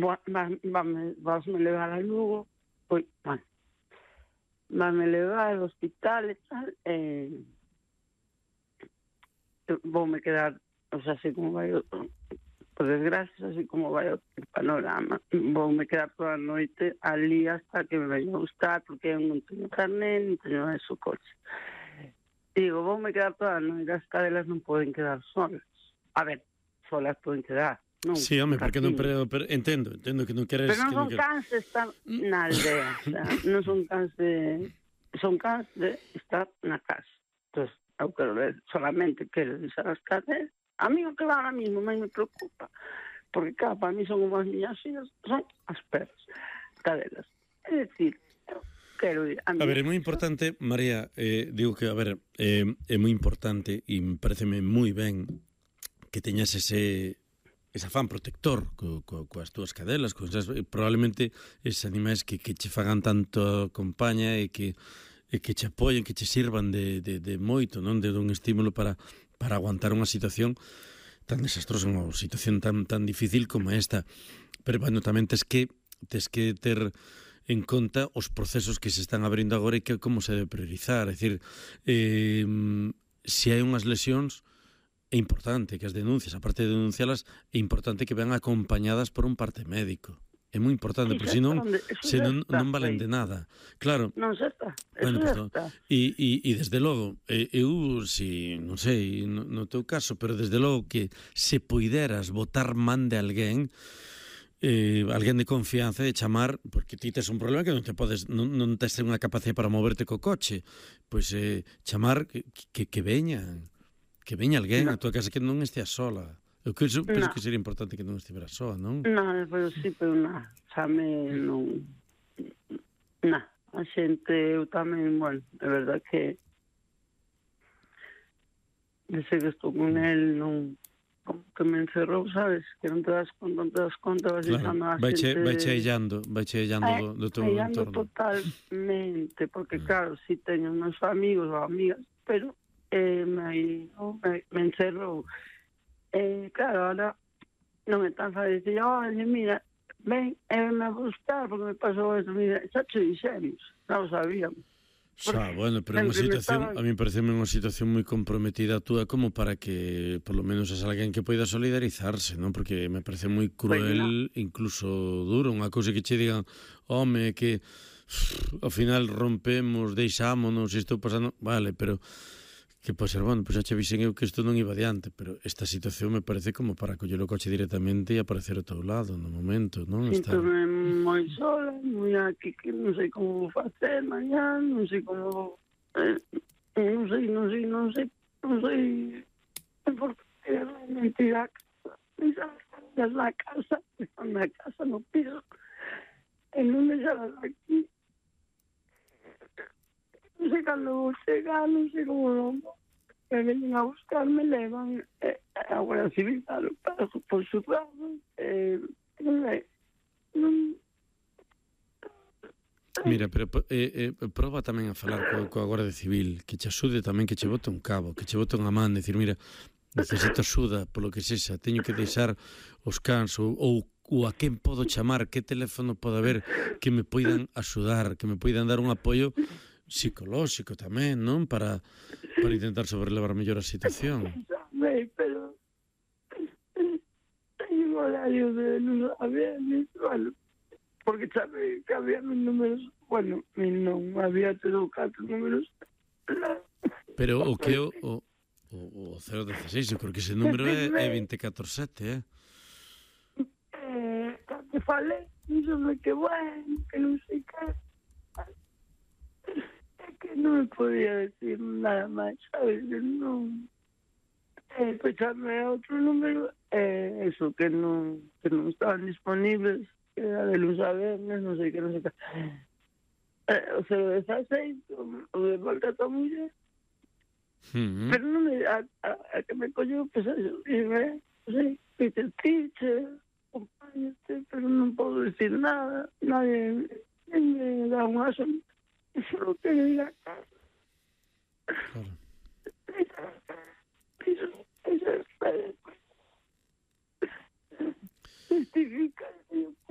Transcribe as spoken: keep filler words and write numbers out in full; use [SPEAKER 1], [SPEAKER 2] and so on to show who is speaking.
[SPEAKER 1] Vas-me levar a Lugo, pois, bueno, vas-me levar ao hospital e tal, e voume quedar, o sea, así como vai, por desgracia, así como vai o panorama, voume quedar toda a noite ali hasta que me veña a gustar, porque eu non teño carné, non teño eso coche. Digo, voume quedar toda a noite, as cadelas non poden quedar solas. A ver, solas poden quedar. Non,
[SPEAKER 2] sí, home, porque non, pero, pero entendo, entendo que non queres...
[SPEAKER 1] Pero non
[SPEAKER 2] que
[SPEAKER 1] son
[SPEAKER 2] non queres...
[SPEAKER 1] cans de estar na aldea, o sea, non son cans de... Son cans de estar na casa. Entón, eu quero ver, solamente quero deixar as cadelas. A mí o que va ahora mismo me preocupa, porque, claro, para mí son unhas miñas fillas, son as perras, cadelas. É dicir, eu quero ir...
[SPEAKER 2] A, a ver, é moi importante, María, eh, digo que, a ver, eh, é moi importante e me pareceme moi ben que teñas ese... ese afán protector co, co, coas túas cadelas, coas, probablemente eses animais que, que che fagan tanto compaña e que, e que che apoyen, que che sirvan de, de, de moito, non, de un estímulo para, para aguantar unha situación tan desastrosa, unha situación tan, tan difícil como esta. Pero, bueno, tamén tes que, tes que ter en conta os procesos que se están abrindo agora e que como se debe priorizar. É dicir, eh, se hai unhas lesións, é importante que as denuncias, aparte de denuncialas, é importante que vean acompañadas por un parte médico. É moi importante, porque senón, senón non valen de nada. Claro.
[SPEAKER 1] Non se está.
[SPEAKER 2] Bueno, pues,
[SPEAKER 1] no.
[SPEAKER 2] E, e, e desde logo, eu, si, non sei, no, no teu caso, pero desde logo que se poideras botar man de alguén, eh, alguén de confianza, de chamar, porque ti tes un problema que non te podes, non, non tes unha capacidade para moverte co coche, pois eh, chamar que, que, que veñan. Que veña alguén a tua casa, que non estea sola. Eu penso, penso que sería importante que non estivera sola, non?
[SPEAKER 1] Non, pero sí, pero non. Xame non... Non. A xente, eu tamén, bueno, é verdad que desde que estou con el, non... Como que me encerrou, sabes? Que non te das conta, non te das conta, vas deixando a xente...
[SPEAKER 2] Vai che illando, vai che illando do, do teu entorno.
[SPEAKER 1] Totalmente, porque claro, si teño uns amigos ou amigas, pero... Eh, me, me, me encerrou. Eh, claro, ahora non é tan fácil decir, oye, mira, ven, eh, me a buscar porque me pasou eso, mira, xa te dixemos, non o sabíamos.
[SPEAKER 2] Xa, bueno, pero é unha situación, a mí parece unha situación moi comprometida a túa como para que, por lo menos, es alguén que poida solidarizarse, non? Porque me parece moi cruel, pues incluso duro, unha cousa que che digan, home, que pff, ao final rompemos, deixámonos, estou pasando, vale, pero... que pode ser, bueno, pois xa che vixen eu que isto non iba adiante, pero esta situación me parece como para coller o coche directamente e aparecer ao teu lado no momento, non?
[SPEAKER 1] Sinto-me moi sola, moi aquí, que non sei como facer mañá, non sei como... Eh, non sei, non sei, non sei, non sei... Porque realmente a casa, deixalas na casa, na casa, no piso, e non deixalas aquí. Non sei cando vou chegar, non sei como non vou. Me venen a buscar, me levan eh, a Guardia Civil, claro, por su lado. Eh, non sei. Non...
[SPEAKER 2] Mira, pero eh, eh, proba tamén a falar co, coa Guardia Civil, que che axude tamén, que che bote un cabo, que che bote unha man, decir, mira, necesito axuda, polo que sexa, teño que deixar os cans, ou, ou, ou a quen podo chamar, que teléfono pode haber que me poidan axudar, que me poidan dar un apoio psicolóxico tamén, non? Para, para intentar sobrelevar mellor a situación.
[SPEAKER 1] Sabe, pero teño un horario de non saber, bueno, porque sabe que había mis números, bueno, non había todo catro números.
[SPEAKER 2] Pero o que o, o, o cero dieciséis, eu creo que ese número é, é veinticuatro sete, eh?
[SPEAKER 1] Eh, que falei, non sei que bueno, que non sei que... que non me podía decir nada máis, sabes, non... Eh, pues chamé a outro número, eh, eso, que non, que non estaban disponibles, que era de luz a vernes, non sei que, non sei que... Eh, o cero dieciséis, o de volta a tua muller,
[SPEAKER 2] mm-hmm.
[SPEAKER 1] Pero non me... A, a, a que me colleu, pues eso, dime, non sei, Peter Tiche, acompáñate, pero non podo decir nada, nadie me dá un aso. Solo quiero ir a casa.
[SPEAKER 2] Claro.
[SPEAKER 1] Eso, eso es para justificar